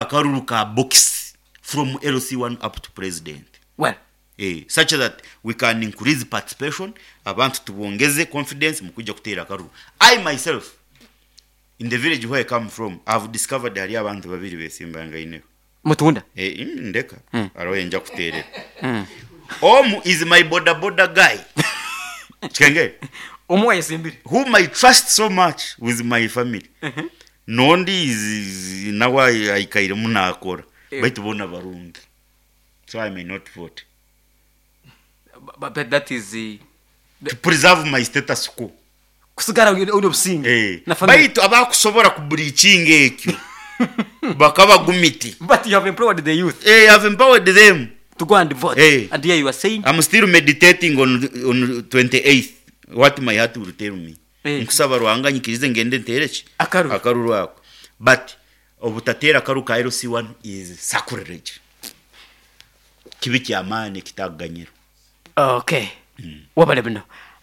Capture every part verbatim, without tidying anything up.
Akaruru ka box from L C one up to president. Well, eh, such that we can increase participation, abantu tubongeze confidence mu kujja kuteera akaruru. I myself, in the village where I come from, I've discovered hali abantu babiri besimbangaineho. Mutunda. Eh, mm, ndeka. Mm. Hariho enja kuteerera. Mm. Omu is my boda boda guy Chikenge, omu wayesimbire, whom I trust so much with my family. Nondi is, is nawe aikairemu nakora. Eh. Baitu bona barungi, so I may not vote. but, but that is uh, To preserve my status quo. Kusigara uri obusinge Eh. na family. Baitu abakusobora kubreachinga ekyo bakaba gumiti. But you have empowered the youth Eh, I've empowered them to go and vote. Eh. And here you are saying I'm still meditating on on twenty-eighth, what my heart will tell me. Eh. Nkusaba Ruhanga nyikirize ngende ntere ki? Akaruru. Akaruru ako. But obutatera akaru ka L C one is sacrilege, kibi kyamaani kitaganyiro. Okay, wabale buno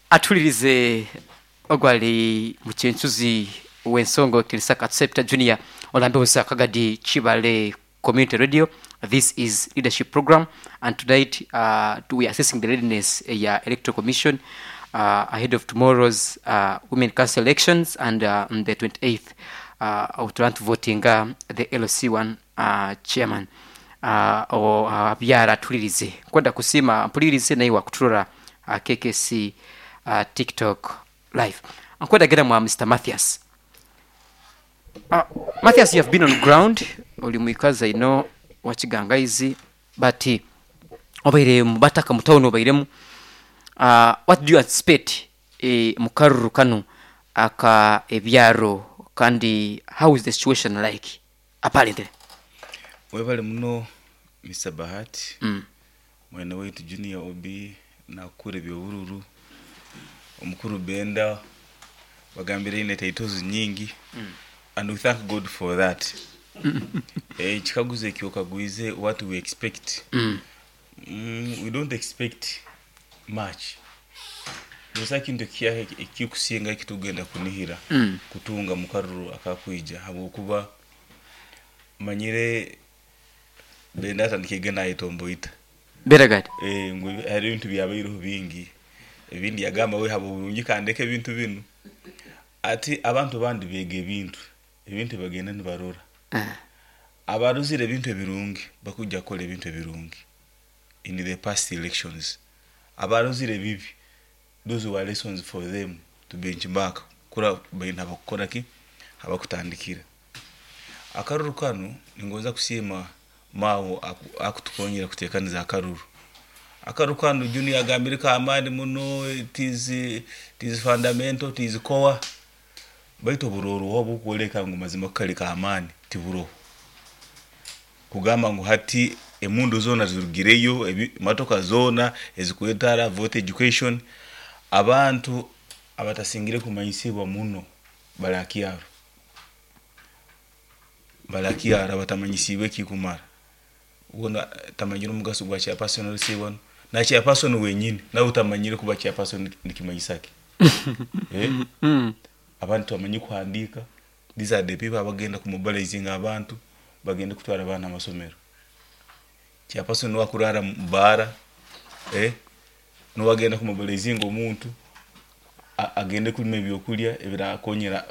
atulirize ogwali mukyensuzi w'ensongo Kirisaka Accepta Junior olambe Kagadi Chibale Community Radio. This is leadership program, and tonight uh, we are assessing the readiness ya Electoral Commission uh, ahead of tomorrow's uh, women council elections and uh, on the twenty-eighth uh, of to voting uh, the L C one uh, chairman. uh, o uh, byara atulirize kwenda kusima mpulirize naye wakuturora uh, K K C uh, TikTok live. Nkwenda mwa Mister Mathias. uh, Mathias, you have been on ground, oli mwikaza ino wakigangaizi, but obaire mubataka mutawuni obairemu. uh, what do you anticipate eh, mukaruru kano aka ebyaro, kandi how is the situation like apparently? Webale muno, Mister Bahati. mm. Mwene waitu Junior Obi nakura ebyobururu omukuru Benda bagambire ine titles nyingi mm. and we thank God for that. Eh, ekikaguzo ekyo okagwize, what we expect? Mm. mm, we don't expect much. Busa kintu ekyaha ekikusinga ekitugenda kunihira Mm. kutunga mukaruru akakwija, habwokuba manyire Benda atandikege nayetomboita. Beragad. Eh, ngu hari ebintu byabaireho bingi, ebindi yagamba we haba burungi kandeka ebintu binu, ati abantu bandi bega ebintu, ebintu bagenda nibarora. uh. Abaruzire ebintu ebirungi bakujja kukola ebintu ebirungi. In the past elections, abaruzire ebibi, those were lessons for them to benchmark kura baina abakukora ki abakutandikira akaruru kanu. Ningonza kusiima mawo aku- akutukonyera kutekaniza akaruru akaruru kanu. Junior agambire kamani muno, it is, it is fundamental, it is core, baitu oburoro obukwoleka ngu mazima kali kamani tiburoho kugamba ngu hati emundu zona zirugireyo, ebi- motoka zona ezikwetara vote education. Abantu abatasingire kumanyisibwa muno barakyaro barakyaro abatamanyisibwe ekikumara wona tamanyire omugaso gwa chairperson L C one na chairperson wenyini nawe utamanyire kuba chairperson nikimanyisaki, eh? mm. Abantu bamanyi kuhandika, these are the people abagenda kumobilizing abantu bagende kutwara abaana amasomero. Chairperson niwakurara mubara, eh? Niwagenda kumobilizing omuntu a- agende kulima ebyokulya ebirakonyera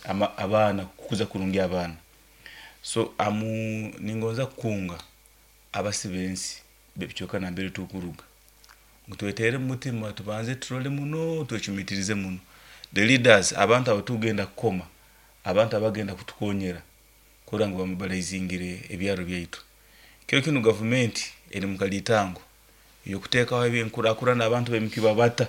ama- abaana kukuza kurungi abaana. So amu ningonza kukunga abasi bensi bebicyoka nambere tukuruga ngu twetere mumutima, tubanze turole muno, twecumitirize muno the leaders, abantu abo tugenda kukoma, abantu abagenda kutukonyera kurora ngu bamobilizingire ebyaro byaitu. Kiro kinu gavumenti eri mukalitango yokuteekaho ebyenkurakurana, abantu bemikiba bata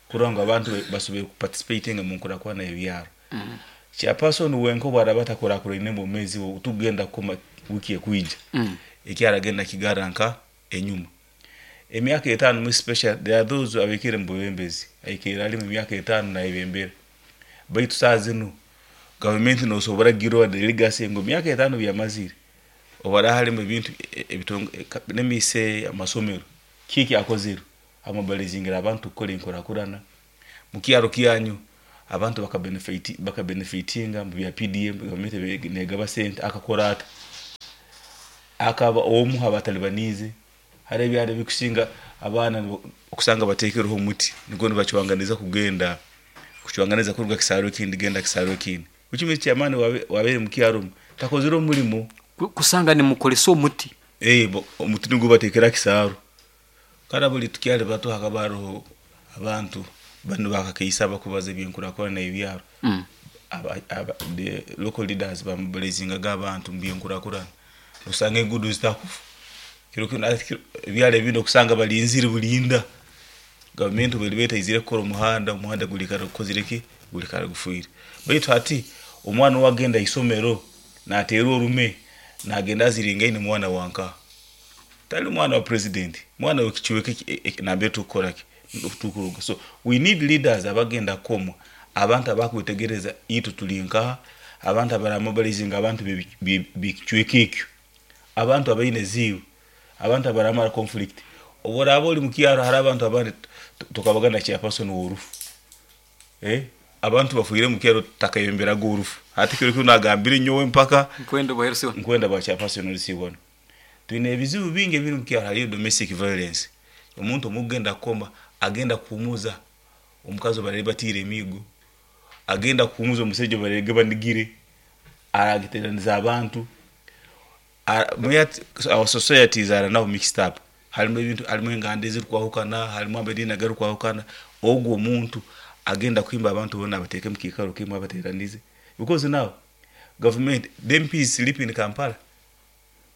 kurora ngu abantu be- basobole kuparticipatinga mu nkurakurana y'ebyaro. Mm. Chairperson wenka obwaraba atakurakurine bwomezi bwe tugenda kukoma wiki ekwija, Mm. ekyaragenda kigara nka enyuma emyaka etaano mu special. There are those abikire mu bwebembezi aikire ali mu myaka etaano nayebembera, baitu saa zinu gavumenti nosobora girwa the legacy ngu myaka etaano byamazire obara halimu ebintu e- ebitongo nemise amasomero kiki akozire amobilizingira abantu kukola enkurakurana mukyaro kyanyu, abantu bakabenefit bakabenefitinga mu bya P D M, gavumenti negaba sente akakora ata. Akaba omu abatalibanize hari ebyaro bikusinga abaana nibo- okusanga bateekereho omuti nigwo nibacwanganiza kugenda kucwanganiza kuruga kisaro ekindi genda kisaro ekindi, which means chairman wabe wabeere mukyaro omu takozire omurimo. Ku- kusanga nimukolesa omuti. Eh, bo- omuti nigwo bateekera kisaro. Kandi buli tukyali bato hakaba hariho abantu banu bakakaisa bakubaza ebyenkurakurana ebyaro. Mm. aba, aba, the local leaders bamobilizingaga abantu mu byenkurakurana, osanga enguudo zitakufa kiro kino ati kiro- ebyaro ebindi okusanga balinzire bulinda gavumenti bweri betaizire kukora omuhanda, omuhanda gulikara gukozire ki, gulikara gufiire. Baitu hati omwana owagenda isomero nateerwa orume nagenda aziringaine mwana wanka tali mwana wa president, mwana wekicweka nambere tukukora ki tukuruga. So we need leaders abagenda kukoma abantu abakwetegereza itu tuli nkaha, abantu abaramobilizinga abantu b'ekicweka ekyo, abantu abaine ziiwe, abantu abaramara conflict. Oboraba oli mukyaro hari abantu abandi tukabagana chairperson w'orufu, eh abantu bafuire mukyaro takayemberaga orufu. Hati kiro kino nagambire nyowe mpaka nkwenda bwaherusiwa. Nkwenda bwa chairperson olisibona. Twine ebizibu bingi ebiri mukyaro. Hariyo domestic violence, omuntu omugenda kukoma agenda kuhumuza omukazi barere batiire emigo, agenda kuhumuza omusajja barege banigire aragiteraniza abantu. Ara- mwe- our societies are now mixed up, harimu ebintu, harimu enganda ezirikwahukana, harimu amadiini agarikwahukana. Ogwo omuntu agenda kuhimba abantu bona abateeke mukiikaro kimwe abateranize, because now government, the M Ps sleep in Kampala,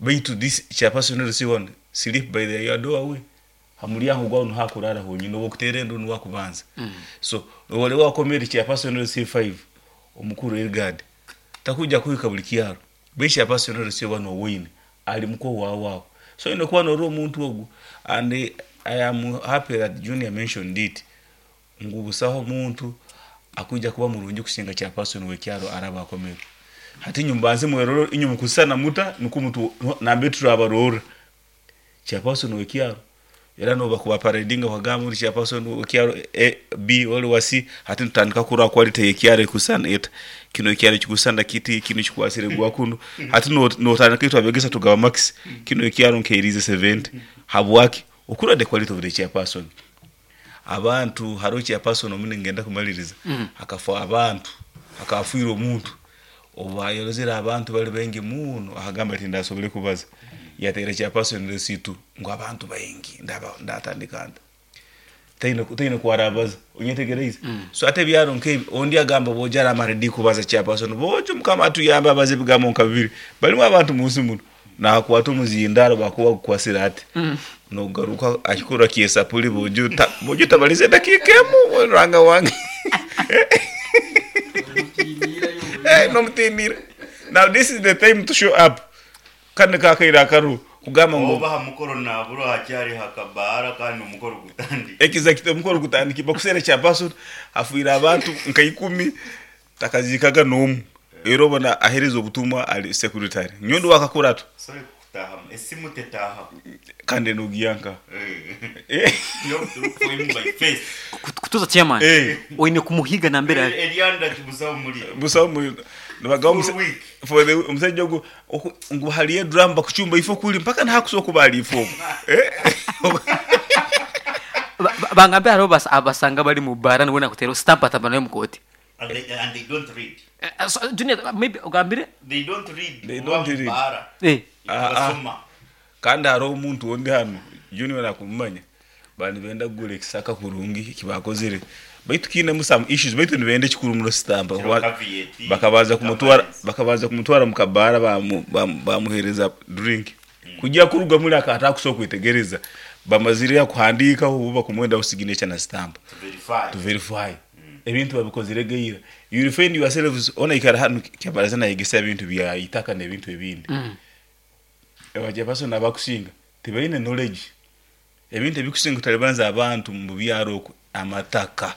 baitu this chairperson one sleep by the your doorway, hamulyango gwawe nuhakurara honyine oba okuteera endu niwakubanza mm. So wali wakomere chairperson C five omukuru Elgard takuja kuhika buli kyaro, baitu chairperson C one owine ali muko wawawo. So ine kuba nori omuntu ogu, and eh, I am happy that Junior mentioned it ngu busaho omuntu akuja kuba murungi kusinga chairperson w'ekyaro araba akomere. Hati inyuma mweroro inyuma kusana muta nuko mutu nambe turabarora chairperson w'ekyaro era noba kuba paradinga wakagamba uri chairperson w'ekyaro A, B oli wa C. Hati tutandika kurora quality y'ekyaro ekusana eta, kino ekyaro kikusana kiti, kino kikwasire gwa kuno. Hati no- notandika itwe abegesa tugaba max, kino ekyaro nkeirize seventy. Habwaki? Okura the quality of the chairperson. Abantu hariho chairperson omune ngenda kumaliriza mm. Akafa abantu akafiira omuntu obayolozera abantu bali bengi muno, akagamba ati ndasobole kubaza yateera chairperson resitu ngu abantu baingi ndaba ndatandika nta taine taine kwarabaza onyetegereize mm. So ate ebyaro nkebi ondi agamba boja amaredi kubaza chairperson bojo mukama atuyamba abaze ebigambo nka bibiri balimu abantu munsi muno nakwata omuzindaro bakuba kukwasira ati mm. Nogaruka akikura kiesapuli bojo ta, bojo tabalize dakika emu ranga wange. Eh, nomutinira. Now this is the time to show up kandi kakaira akaru kugamba ngu oba ha mukoro naburo hakyari hakabara kandi omukoro gutandika. Exactly, omukoro gutandika bakusera chairperson afuira abantu nka ikumi takazikaga n'omu era obona ahereza obutumwa ali secretary nyondo wakakurato. Sorry kutaha esimu tetaha. Kandi nogiyanka. Eh. You have to look for him by face. Kutuza chairman Eh. oine kumuhiga nambere ari. Eryanda kibusaho muri busaho mu nibagamba For week. For the omusajja ogwo oku- ngu haliyo drum bakuchumba ifo kuli mpaka nhakusobola kuba ali ifo eh. Ba- ba- bangambe hariho bas- abasanga bari mu bara nibona kutera stamp atamba nayo mukoti. And they, and they don't read. Eh, eh, so, Junior, maybe ogambire. They don't read. They don't read. Bara. Eh Ah, ah. Basoma. Kandi hariho omuntu ondi hano Junior nakumumanya bandi benda kugura ekisaka kurungi kibakozire baitu kiinemu some issues baitu nibenda ekikuru muno sitampa. Kiro caveat, bakabanza kumutwara governance. Bakabanza kumutwara mukabara bamu- bamu- bamuhereza drink kujya kuruga muri akata akusobola kwetegereza bamazire kuhandikaho ubu bakumwenda signature na stamp. To verify. To verify ebintu babikozire geira. You will find yourselves ona ikara hano kyabaraza nayegesa ebintu bya itaka n'ebintu ebindi mm. Abachairperson abakusinga tebalina knowledge ebintu ebikusinga kutalibanza abantu mu byaro okwo amataka,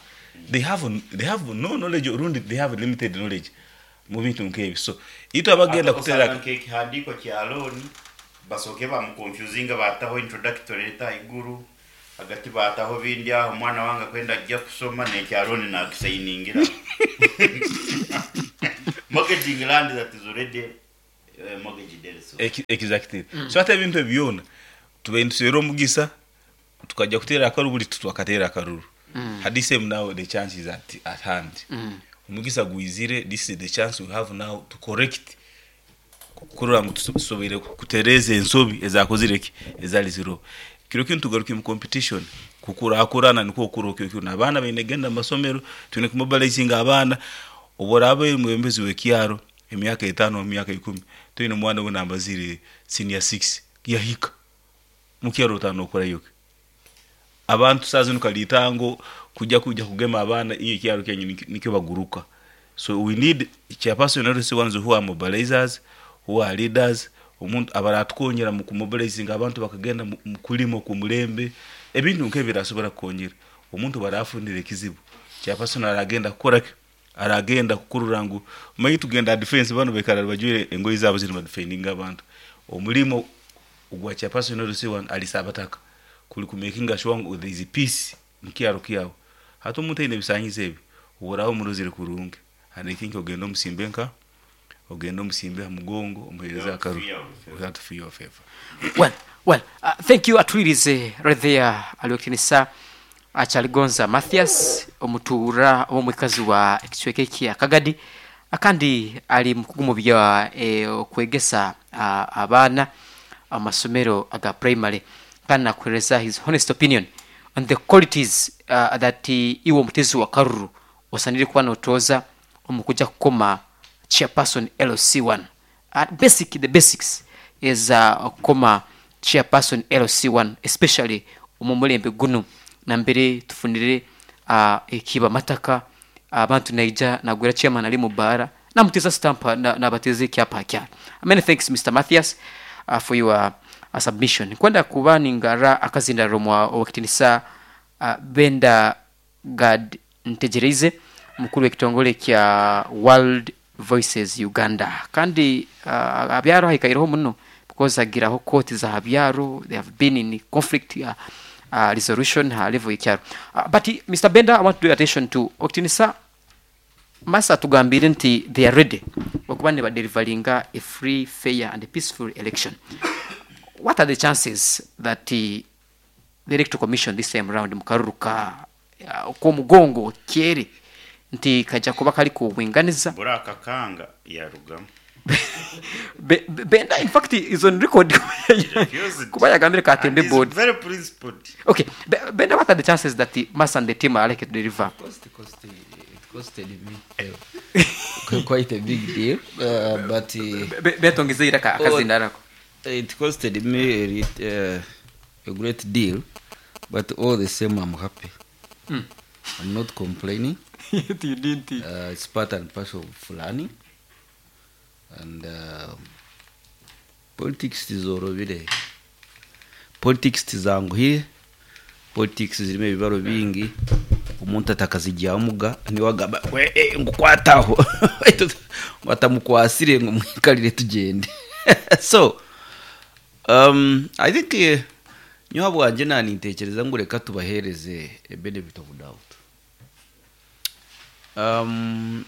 they have they have no knowledge orundi they have limited knowledge mu bintu nk'ebyo. So itwe abagenda kutera kutera nk'ekihandiko kya loan basoke bamuconfusinga bataho introductory letter iguru hagati bataho bindi aho omwana wange akwenda ajja kusoma nekya loan nakisayiningira, mortgaging land that is already Exactly. So ate ebintu ebyona tubaire nituseera omugisa tukajja kuteera akaruru, buri twakateera akaruru. Hadi same now the chance is at, at hand. Omugisa gwizire, this is the chance we have now to correct, kurora ngu tusoboire kutereeza ensobi ezakozire ki ezali ziro. Kiro kinu tugaruke mu competition, kukurakurana nikwo okuro kyo kyo abaana baine genda mu masomero, twine kumobilizinga abaana. Oboraba omwebembezi w'ekyaro emyaka etaano, emyaka ikumi, twine omwana we nambazire senior six yahika mukyaro otano okorayo abantu saa zino kalitango kujja kujja kugema abaana iyo kyaro kyenyu nikyo baguruka. So we need chairperson L C ones who are mobilizers, who are leaders, omuntu abaratukonyera mu kumobilizinga abantu bakagenda mu kulimo ku mulembe, ebintu nk'ebirasobora kukonyera omuntu barafundira ekizibu. Chairperson aragenda kukora aragenda kukurura ngu manyi tugenda defense bano bekara bajwire engoyi zabo ziri defending abantu. Omulimo ogwa chairperson L C one alisabataka kuli ku making sure ngu there is peace mukyaro kyawo. Hati omuntu aine ebisanyizo ebi oboraho omurozire kurungi, and I think ogenda omusimbe nka ogenda omusimbe ha mugongo omuhereza akaru without fear of favor. Well, well, uh, thank you atwirize right there aliwekinisa Achaligonza Mathias omutuura omwikazi wa ekicweka kya Kagadi, akandi ali mukugumu bya eh, okwegesa uh, abaana amasomero aga primary, kandi nakuhereza his honest opinion on the qualities uh, that uh, iwe omutezi wa karuru osanire kuba notoza omukuja kukoma chairperson L C one. Uh, basic the basics is uh, kukoma chairperson L C one, especially omumulembe gunu nambere tufunire uh, ekiba mataka abantu uh, naija nagwera chairman ali mubara namuteza stamp na nabateze kyapa kya. Many thanks Mister Mathias uh, for your uh, submission. Kwenda kuba ningara akazinda romwa owakitinisa uh, Benda Gad Ntegereze mukuru w'ekitongole kya World Voices Uganda, kandi uh, abyaro haikaireho muno because agiraho court za abyaro, they have been in conflict uh, uh, resolution ha level y'ekyaro. Uh, but Mister Benda, I want to draw attention to okitinisa masa tugambire nti they are ready okuba ne badelivelinga a free, fair and peaceful election. What are the chances that uh, the Electoral Commission this time round mukaruruka uh, ko mugongo kyere nti kajja kuba kali kubwinganiza buraka kanga yarugamu? Be, Benda in fact is on record kuba yagambire katembe board very principled. Okay, Be, Benda, what are the chances that the Massa and the team are likely to deliver? Cost, cost, it costed me uh, quite a big deal, uh, but uh, betongeze iraka akazindarako. It costed me a, uh, a great deal, but all the same I'm happy. Mm. I'm not complaining. You didn't. Uh, it's part and parcel of learning, and uh, politics tizorobire, politics tizanguhire, politics zirimo ebibaro bingi, omuntu atakazijyamuga niwagaba we ngukwataho batamukwasire ngo mwikalire tugende. So um, I think uh, nyoha bwanje nanintekereza ngo reka tubahereze a benefit of doubt. Um,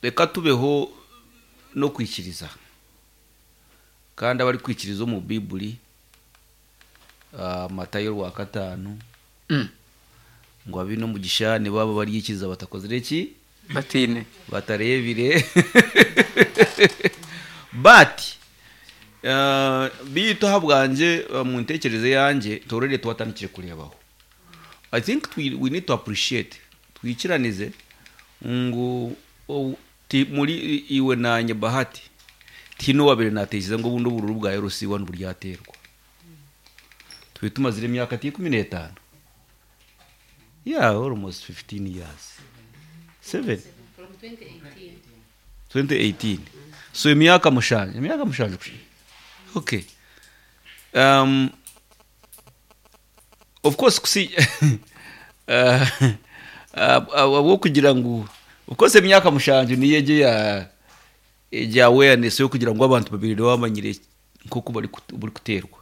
reka tubeho no kwikiriza, kandi abari kwikiriza mu Bibuli uh, Matayo rwa katanu mm. ngo abino mugisha ni baba baryikiza batakozire ki batine batarebire. But uh, bito habwanje uh, mu ntekereze yanje torere twatandikire kurebaho. I think we, we need to appreciate twikiranize ngo ti muri iwe nanye Bahati tino wabere natekereza ngo bundo bururu bwa L C one buryaterwa twitumazire imyaka cumi n'itanu, yeah, almost fifteen years, seven from twenty eighteen. twenty eighteen. So imyaka mushanje imyaka mushanje. Okay, um of course kusi uh, abo kugira ngo ukoze imyaka mushanje niyeje ya ya awareness yo kugira ngo abantu babiri bamanyire nkoko bari buri kuterwa,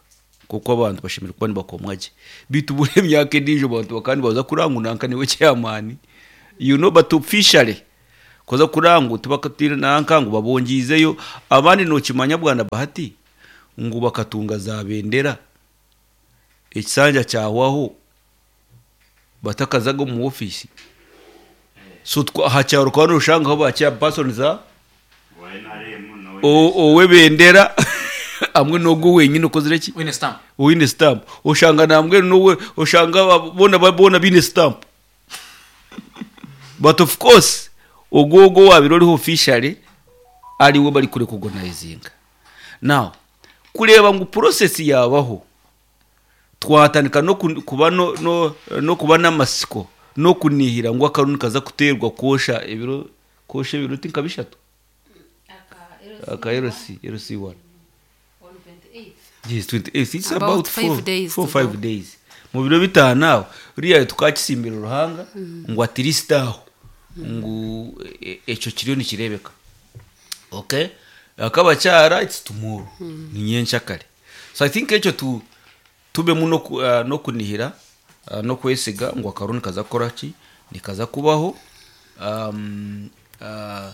kuko abantu bashimira kuba bakomwaje bitubure imyaka indijo abantu bakandi baza kurangunanka niwe chairman, you know, but officially Koza kuranga ngu tibakatire nanka ngu babongiizeyo abandi nokimanya bwana Bahati ngu bakatunga za bendera ekisanja kyahwaho batakazaga omu office. So twa- aha kyaro kwa noshangaho ba chairperson za o- ow'ebendera hamwe n'ogwo wenyine okozire ki Wine stamp. Oine stamp, oshanga nambwe nowe oshanga ba- bona ba- bona bine stamp, but of course ogwo ogwo wabire oriho officially ariwe bari kurecognizinga. Now kureeba ngu process yabaho, twatandika no ku- kuba no, no, no kuba n'amasiko no kunihira ngu akaruru nikaza kuterwa kwosha ebiro kwosha ebiro ti nka bishatu aka L C L C one. Yes, twenty-eight. It's about, About four, five days four to five go. days. Mu biro bitanu aho uriya tukakisimbira Ruhanga ngu at least aho ngu e- ekyo kiriyo nikirebeka. Okay, akabakyara it's tomorrow, ni nyenkyakare. So I think ekyo tu tubemu no ku- ah, no kunihira, ah, no kwesiga ngu akaruru nikaza kukora ki, nikaza kubaho. um, uh,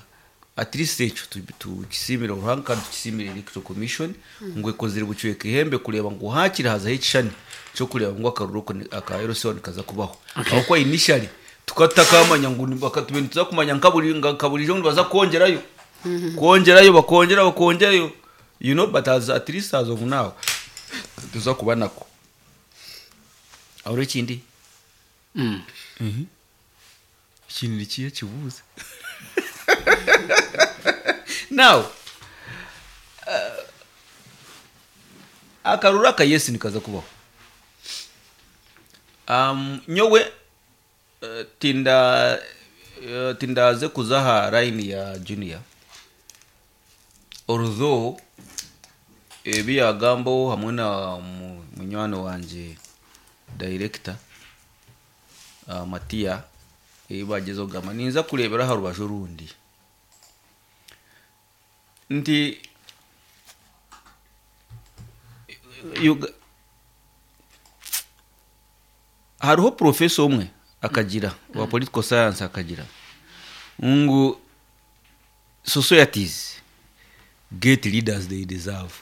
at least ekyo tu- tukisimire Ruhanga kandi tukisimire Electoral Commission ngu ekozire bucweka ihembe kureba ngu hakiri hazaho ekishani kyokureba ngu akaruru ko ni- aka L C one nikaza kubaho, aho initially tukatakamanya ngu ni- bakatube nituza kumanya nka buri nka burijo nibaza kwongerayo kwongerayo bakongera bakongerayo you know but as at least as of now tuza kuba nako aho. Ekindi Mm. ikintu nikiye kibuze now, uh, akaruru aka yes nikaza kubaho. um, nyowe uh, tinda uh, tindaze kuza aha line ya Junior, although ebi yagambaho hamwe na mu- munywani wanje director uh, Matiya ebi bagezeho kugamba, ninza kurebera aha rubaju orundi nti Uga- hariho professor omwe akagira wa political science akagira ngu societies get leaders they deserve.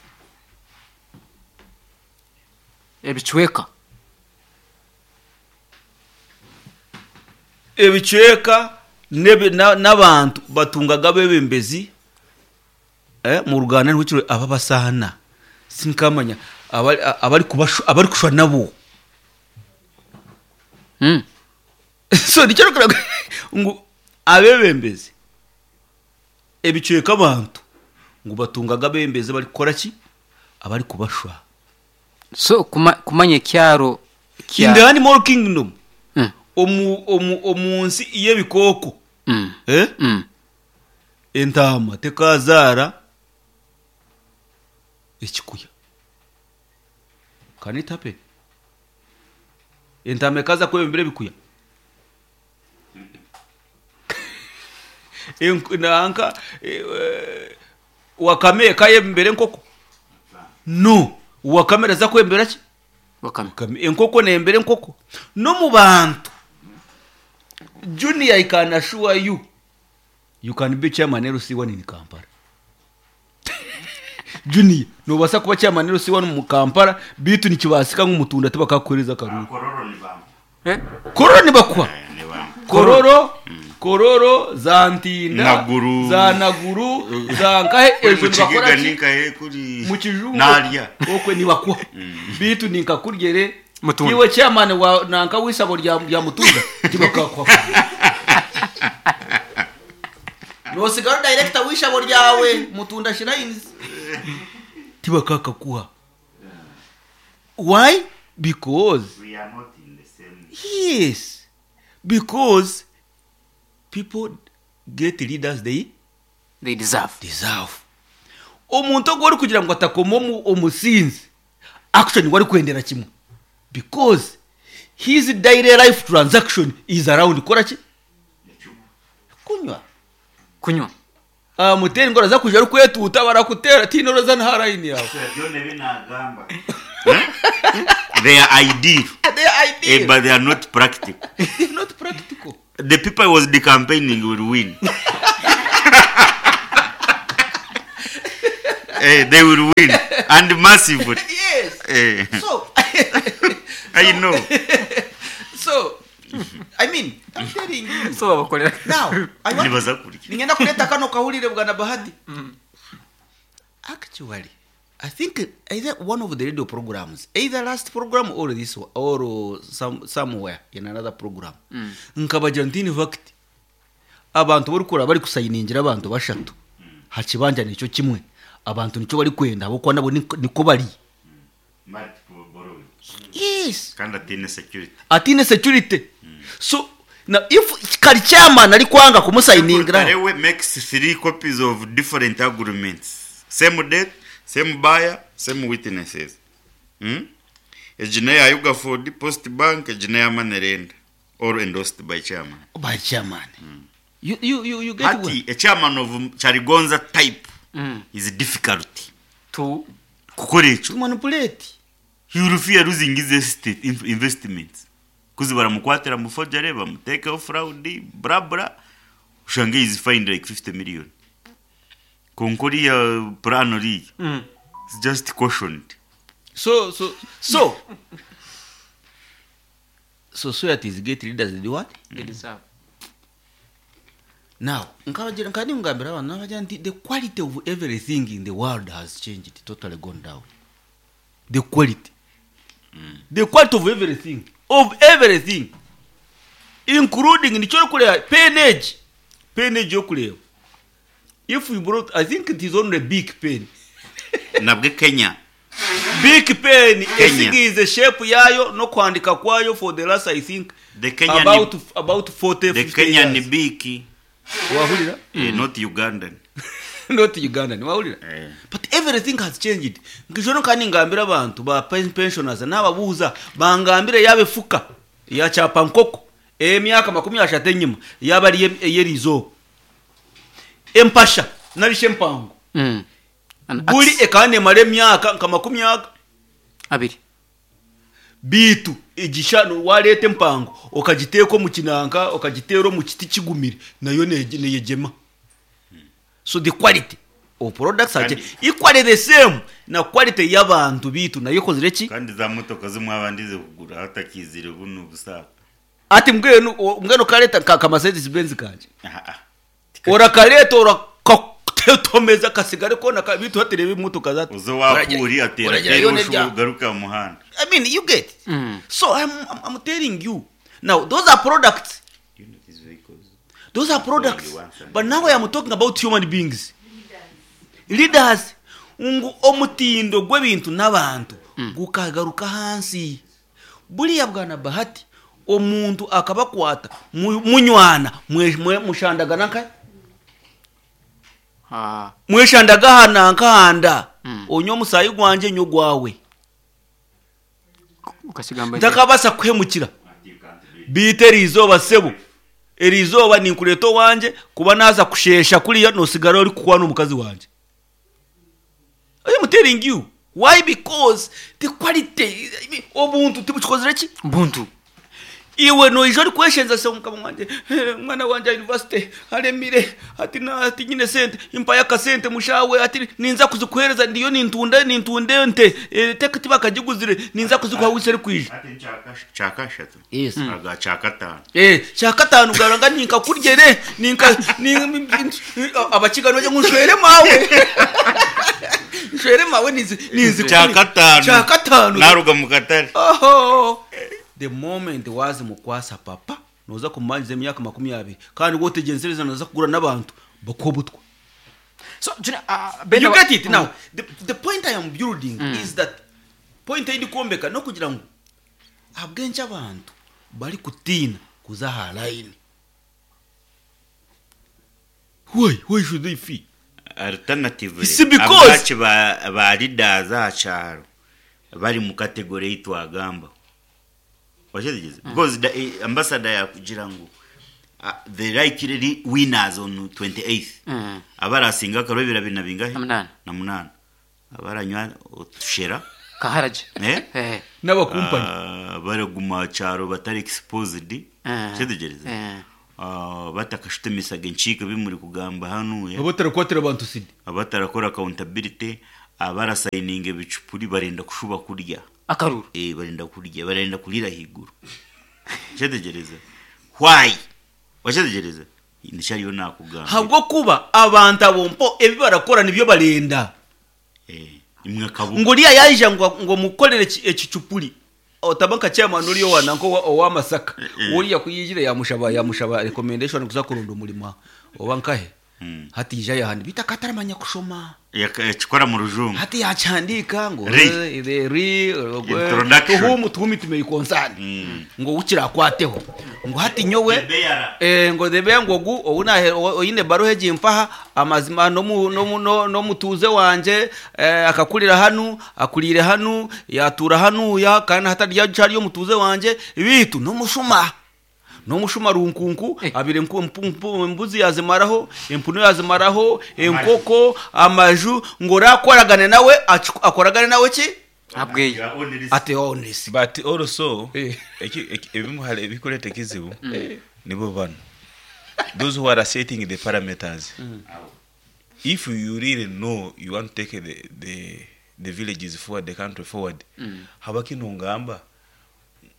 Ebicweka. Ebicweka n'ebi- na- n'abantu batungaga abebembezi eh, mu Ruganda nihukiro ababasana sinkamanya abari abari kubashu- abari kushwa nabo. Mm. So nicyo rukora ngu abebembezi ebicweka abantu ngu batungaga abebembezi bari kukora ki, abari kubashwa. So kuma, kumanya ekyaro In the animal kingdom, Mm. omu omu omu nsi y'ebikooko, Mm. eh? Mm. Entama tekazaara ekikuya. Can it happen? Entama ekaza kwebembera ebikuya? Enku- nanka eh, eh, wakame ekayebembera enkoko? No, wakame eraza kwebembera ki? Wakame. Wakame. Enkoko nembera enkoko. No mu bantu, Junior, I can assure you, you can be chairman L C one in Kampala. Junior, nobasa kuba chairman L C one mu Kampala, bitu nikibasika nk'umutunda tibakakuhereza akaruru. Kororo ni bamwe. Eh? Kororo nibakwa. Eh, ni bamwe. Kororo, Kororo, za Ntinda, Naguru. za Naguru, za nkahe ejo Mu nibakora Kigiga ki? ninkahe kuri Mu kijungu narya. Okwe nibakwa, bitu ninkakuryere Mutunda. iwe chairman wa nanka w'isabo rya rya Mutunda tibakakwa, nosigara director w'isabo ryawe Mutunda Shrines tibakakakuha. Why? Because We are not in the same. Yes, because people get leaders they They deserve. Deserve. Omuntu ogwo ori kugira ngu atakoma omu- omusinzi, action wari kwendera kimwe, because his daily life transaction is around kora ki, kunywa. Kunywa. Amutera ingoro za kuja ari kwetuuta barakutera tinoroza nta line yawe. Byona binagamba. They are ideal, They are eh, ideal. but they are not practical. They are not practical. The people I was decampaigning will win. Eh, they will win and massively. Yes. Eh. So I know. So I mean, I'm telling you. So babakolera. Now, I want Nibaza kurya. ningenda kuleta kano kahulire bwana Bahati. Actually, I think either one of the radio programs, either last program or this one, or uh, some, somewhere in another program. Nkabagira nti in fact abantu bari kura bari kusayiningira abantu bashatu hakibanja nicyo kimwe abantu nicyo bari kwenda abo kwa nabo niko niko bari. Multiple borrowing. Yes. Kandi atine security. Atine security. So now if kari chairman ari kwanga kumusayiningira Karewe makes three copies of different agreements. Same date, same buyer, same witnesses. Hmm? Ejina ya Yuga Post Bank, ejina ya Manerenda. All endorsed by chairman. By chairman. You you you, you get Hati, a chairman of Charigonza type Mm. is difficult. To Kukora ekyo. to manipulate. He will fear losing his estate in- investments. Kuzi baramukwatira mu forgery, bamutekeho fraud, bra bra. Ushange is fined like fifty million. Konkori ya plan ori. mm. It's just cautioned. So so so societies get leaders they do what? They deserve. Now, nkabagira nkandi ngambira abantu nabagira nti the quality of everything in the world has changed, totally gone down. The quality. Mm. The quality of everything, of everything. Including nicyo kureba penage. Penage yo kureba. If we brought, I think it is only big pen. Nabwe Kenya. Big pen Kenya. esigize shape yayo no kwandika kwayo for the last I think The Kenyan about about forty the fifty Kenyan years. biki Wahulira? eh, not Ugandan. Not Ugandan, wahulira? Eh. But everything has changed. Nkijono kandi ngambira abantu ba pen- pensioners n'ababuuza bangambire yabefuka ya chapa nkoko emyaka makumi ashatu enyuma yaba ari eyerizo empasha narishe empango Mm. An buli axe. ekaba nemara emyaka nka makumi aga Abiri. bitu igishano wareta empango okagiteeka omu kinanka okagiteera omu kiti kigumire nayo nege- neyegyema. So the quality of products are Kandi- equally the same na quality y'abantu bitu nayo ekozire ki? Kandi za motoka zimwe abandize kugura hatakizire buno busaka. Ati mbwenu o- mbwenu kareta ka ka Mercedes Benz kanje Ah ah. orakareta orakatomeza kasigare kona ka bitu haterebe imotoka za Uzo wakuri atera Oragira yone tera rya- ugaruka mu muhanda. I mean, you get it. Mm. So I'm, I'm, I'm telling you now, those are products. You know these vehicles. Those are products. Only once and- But now I am talking about human beings. Leaders. Ngu omutindo gw'ebintu n'abantu gukagaruka hansi. Buriya bwana Bahati omuntu akabakwata mu- munywana mwe- mwe- mushandagana nka Ah. mweshandaga hana nkahanda Mm. onywa omusayi gwanje nywa ogwawe Ukasigamba. ntakabasa kuhemukira biite eriizooba sebo eriizooba ninkureeta owanje kuba naza kushesha kuriya nosigara ori kukwana omukazi wanje. I am telling you why, because the quality, I mean, obuntu tibukikozire ki? Buntu. Iwe noija ori kweshenza se omukama wanje, eh, mwana wanje university aremire ati na ati nyine sente impaye akasente mushawe ati ninza kuzikuhereza ndiyo nintunda nintunda ente eh, teka tibakagiguzire ninza kuzikuha wise eri kwija. Ati nchaka chaka shatu. Yes. Aga chaka tano. Eh, kyakataano garanga ninkakuryere ninka ni- abakiga bajya ngo nshwere mawe nshwere mawe nizi nizi Chaka tano. Kyakataano. Naruga mu katare. Oho. The moment wazi mukwasa papa noza kumanjiza emyaka makumi abiri kandi wotegenzereza noza kugura n'abantu bakobutwa. So Junior, uh, Ben You get it now? the, the point I am building is that point eri kwombeka nokugira ngu abwenki abantu bari kutiina kuza aha line. why why should they fee? Alternatively, It's because- abaci ba ba leaders acyaro bari mu category yitwagamba. Wachetegeze because the eh, ambassador yakugira ngo uh, the likely winners on twenty-eighth Mm. abarasinga akarobera bina bingahe? Na munana. Na munana abaranywa otushera. Kaharaje. Eh? Eh. N'abakumpanyi. Ah, baraguma cyaro batari exposed. Eh. Chetegereze. Eh. ah, batakashutemisaga enkiiko ebimuri kugamba hanuya, Abatarakwatira abantu sidi. Abatarakora accountability, abarasayininga ebicupuri, barenda kushuba kurya. Akaruru. Eh, barenda kurya, barenda kurira higuru. Kyetegereza why, wakyetegereza nikyariyo nakugamba. Habwokuba abantu abo mpo ebi barakora nibyo barenda. Eh, imwe kabuga. Ngo uriya yaija ngo ngo mukorere eki- ekicupuri otaba nka chairman uriyo wananko owa Masaka, uriya kuyijire yamushaba yamushaba recommendation kuza kurunda umurimo oba nkahe. Mm. Hati ija yahandi bitaka ataramanya kushoma. Yaka- yakikora mu rujungu. Hati yacyandika ngo Ri. eh, the ri Introduction. to whom to whom it may concern, Mm. ngo ukirakwateo, ngo hati nyowe The bearer. eh, ngo debe ngo gu ouna oyine baruhe jimpaha amazima no mu no mu- no no mutuze wanje, eh, akakurira hanu, akurire hanu, yatura hanuya kandi hatarya cyari yo mutuze wanje bitu no mushuma no mushuma runkunku. Eh. Abire nku- mpu- mpu- imbuzi yazimaraho, empunu yazimaraho, enkoko, amaju, ngo rakoragane nawe acu- akoragane nawe ki. Abweyo. Your own risk. Ate honest. But also Eh. eki- eki- ebimu hali ebikuleta ekizibu nibo bano, those who are setting the parameters. If you really know you want to take the, the, the villages forward, the country forward, haba kino ngamba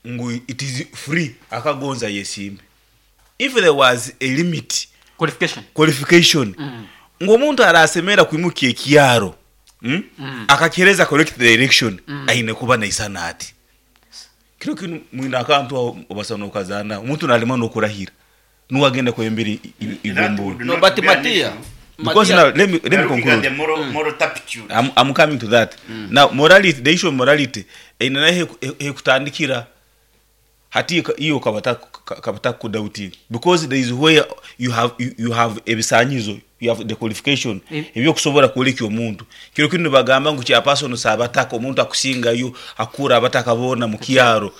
ngu it is free, akagonza yesimbe. If there was a limit, Qualification. Qualification, ng'omuntu arasemera kwimuka ekyaro, mm? Akakereza correct direction, aine kuba naisana ati kiro kinu mwina akantu aho obasa nokazana omuntu nalema nokurahira nuwagenda kwembera That would igombolo. No, not but be an Matia, issue. Because Matia, now let me let me We're looking at conclude. the moral, moral turpitude. I'm, I'm coming to that now. Morality, the issue of morality einana hekutandikira hati iyo kabata kabata kudauti, because there is where you have you, you have ebisanyizo, you have the qualification Mm. ebyokusobola kwoleka omuntu. Kiro kino bagamba ngu chairperson sabataka omuntu akusingayo akura abataka bona mu kyaro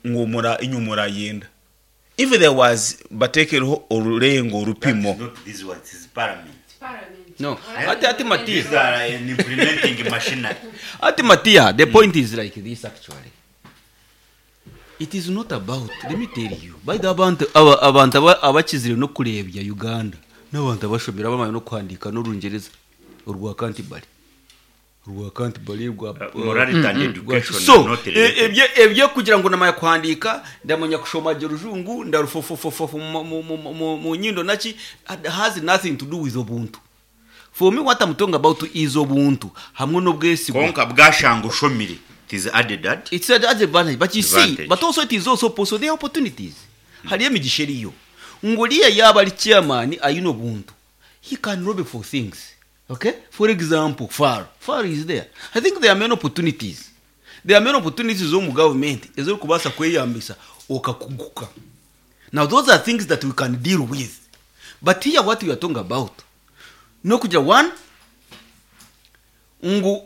ngomura inyumura yenda. If there was batekereho orulengo orupimo. That is not this one, it is parliament. No, ati ati Matia, These are an implementing machinery. Ati Matia, the point is like this actually. It is not about, let me tell you, by the abantu aba abantu aba- abakizire no kurebya Uganda n'abantu abashomera bamaye no kwandika n'urungereza urwa Canterbury urwa Canterbury rwa Uh, morality and education so are not e- related. ebyo ebyo kugira ngo namaya kwandika, ndamenya kushoma rujungu, ndarufofofofo mu- mu- mu- mu- mu nyindo naki has nothing to do with ubuntu. For me, what I'm talking about is ubuntu hamwe n'ubwesigwa. Konka bwashanga ushomire, it is added that It's an advantage, but you see, Advantage. but also it is also possible there are opportunities. Hariyo emigisha eriyo ngo riya yaba ari chairman ayine ubuntu, he can lobby for things. Okay, for example, far far is there. I think there are many opportunities, there are many opportunities zo mu government ez'orikubaasa kweyambisa okakuguka. Now those are things that we can deal with, but here what we are talking about no kugira one ngu